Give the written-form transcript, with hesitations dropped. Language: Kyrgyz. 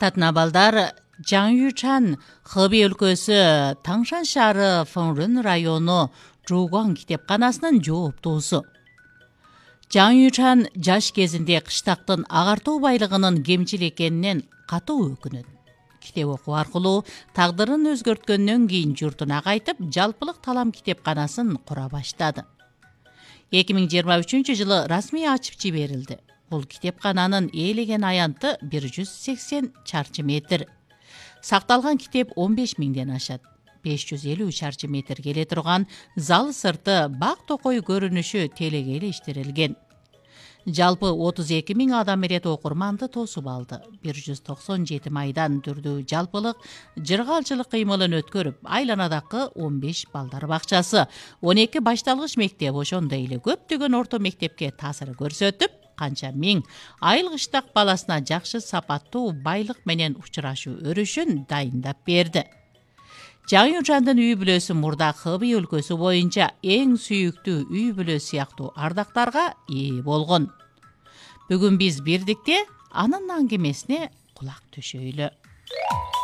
Татнабалдар Жаңючан Хэби өлкөсү Таңшан шаары Фэнрун району Жугуан китепканасынын жооптуусу. Жаңючан жаш кезинде кыштактын агартуу байлыгынын кемчил экенинен катуу өкүнөт. Китеп окуу аркылуу тагдырын өзгөрткөндөн кийин журтуна кайтып, жалпылык талам китепканасын кура баштады. 2023 жылы расмий ачып жиберилди. Бул китепкананын ээлеген аянты 180 чарчы метр. Сакталган китеп 15 миңден ашат. 550 чарчы метр келе турган зал сырты бак токой көрүнүшү телегейлештирилген. Жалпы 32 миң адам эрет окурманды тосуп алды. 197 майдан түрдүү жалпылык жыргалчылык кыймылын өткөрүп, айланадагы 15 балдар бакчасы, 12 башталгыч мектеп, ошондой эле көптөгөн орто мектепке таасир көрсөтүп, канча миң айыл кыштак баласына жакшы сапаттуу байлык менен учурашуу өрүшүн дайындап берди. Жаңючандын үй бүлөсү мурда Хэби өлкөсү боюнча эң сүйүктүү үй бүлө сыяктуу ардактарга ээ болгон. Бүгүн биз бирдикте анын аңгемесине кулак төшөйлү.